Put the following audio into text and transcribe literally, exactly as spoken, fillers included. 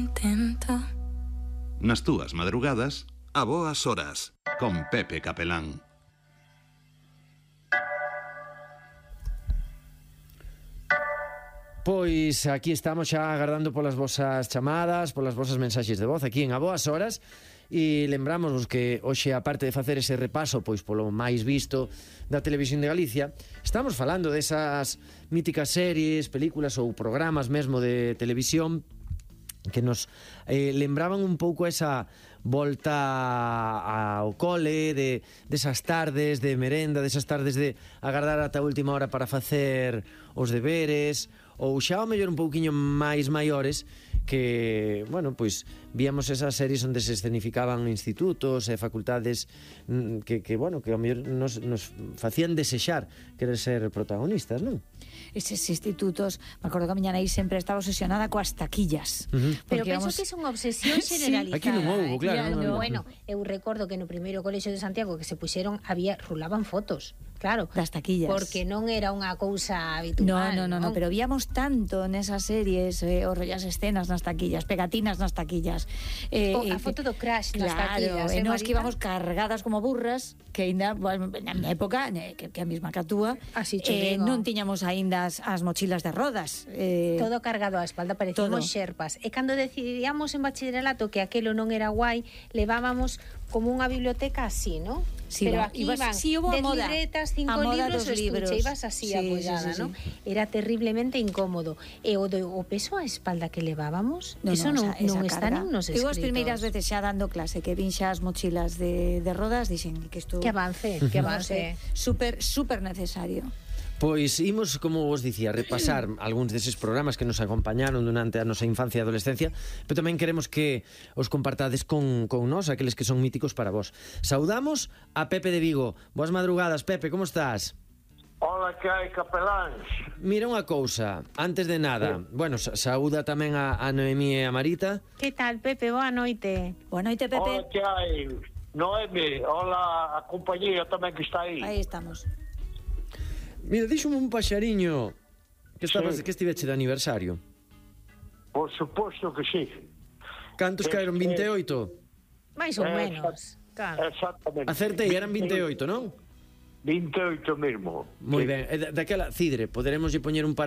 intento. Nas túas madrugadas, a boas horas, con Pepe Capelán. Pois aquí estamos xa agardando polas vosas chamadas, polas vosas mensaxes de voz aquí en A Boas Horas, e lembramos que hoxe, aparte de facer ese repaso pois polo máis visto da Televisión de Galicia, estamos falando desas míticas series, películas ou programas mesmo de televisión que nos eh, lembraban un pouco esa volta ao cole, de, desas tardes de merenda, desas tardes de agardar ata a última hora para facer os deberes, ou xa ao mellor un pouquiño máis maiores, que, bueno, pois víamos esas series onde se escenificaban institutos e facultades que, que bueno, que ao mellor nos, nos facían desexar querer ser protagonistas, non? Eses institutos, me acordo que a miña nai sempre estaba obsesionada coas taquillas. Uh-huh. Pero penso que é unha obsesión generalizada. Aquí non houbo, claro. No, no, no. Bueno, eu recordo que no primeiro colexio de Santiago que se puxeron, había, rulaban fotos. Claro, das taquillas. Porque non era unha cousa habitual. No, no, no, no, pero víamos tanto nesas series, eh, os rollas escenas nas taquillas, pegatinas nas taquillas. Eh, o, a foto do crash nas claro, taquillas. E eh, nos que íbamos cargadas como burras, que ainda, bueno, na minha época, que, que a mesma que a túa, Así eh, non tiñamos aínda as, as mochilas de rodas. Eh, todo cargado á espalda, parecíamos xerpas. E cando decidíamos en bacharelato que aquelo non era guai, levábamos como unha biblioteca así, ¿no? Sí, pero va, aquí ibas, van sí, dez moda, libretas, cinco libros, o estuche, ibas así sí, apoyada, sí, sí, ¿no? Sí. Era terriblemente incómodo. E o, do, o peso á espalda que levábamos, no, eso no, non, esa, non esa está nin nos escritos. Eu as primeiras veces xa dando clase que vin xa as mochilas de, de rodas, dixen que isto... Que avance, que avance. No sé, super, super necesario. Pois imos, como vos dicía, repasar algúns deses programas que nos acompañaron durante a nosa infancia e adolescencia, pero tamén queremos que os compartades con, con nós, aqueles que son míticos para vos. Saudamos a Pepe de Vigo. Boas madrugadas, Pepe, como estás? Hola, que hai, capeláns? Mira unha cousa, antes de nada, sí. bueno, sa saúda tamén a, a Noemí e a Marita. Que tal, Pepe? Boa noite. Boa noite, Pepe. Hola, que hai? Noemi, hola a compañía tamén que está aí. Aí estamos. Mira, díxome un paxariño que estabas, sí. que estiveche de aniversario. Por suposto que sí. Cantos que, caeron? vinte e oito? Mais ou menos. Claro. Exactamente. Acertei, eran vinte e oito, non? vinte e oito mesmo. Moi sí. ben, e daquela, Cidre, poderemos lle poñer un par